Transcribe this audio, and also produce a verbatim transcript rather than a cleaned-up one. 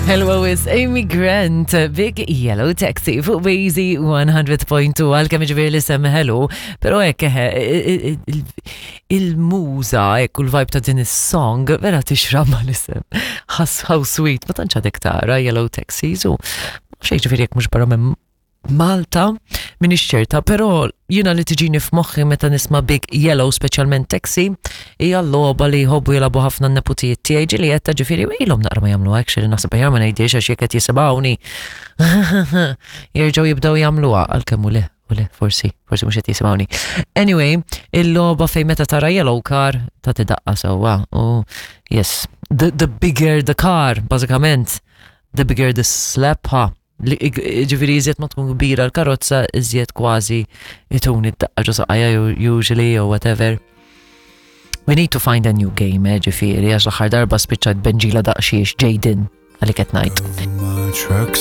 Hello is Amy Grant, Big Yellow Taxi fuq Wazy one hundred point two, għalkemm ġifieri li sem hello, pero hekk eħe, il-muża hekk u l-vibe ta' din is-song vera tixraq ma' l-isem. How sweet, ma tantx għadek tara Yellow Taxis u xejn, ġifieri jekk mhux barra minn Malta, m'iniex ċerta, pero jiena li tiġini f'moħħi meta nisma' Big Yellow, speċjalment Taxi, hija l-logħba li jħobbu jilagħbu ħafna n-neputijiet tiegħi, ġieli qed, ġifieri ilhom naqra ma jagħmlu, actually naħseb aħjar ma ngħidix, għax jekk qed jisimgħuni jerġgħu jibdew jagħmluha, għalkemm u le, u le, forsi, forsi mhux qed jisimgħuni. Anyway, il-logħba fejn meta tara yellow car ta' tidaqqa sewwa u yes, the, the bigger the car, bażikament, the bigger the slap, ha. Li ġifieri iżjed ma tkun kbira l-karozza, iżjed kważi ituni d-daqqa ġo saqajja usually or whatever. We need to find a new game, eh, ġifieri, għax l-aħħar darba spiċċat benġila daqxiex Jaden għalik qed ngħid. My trucks.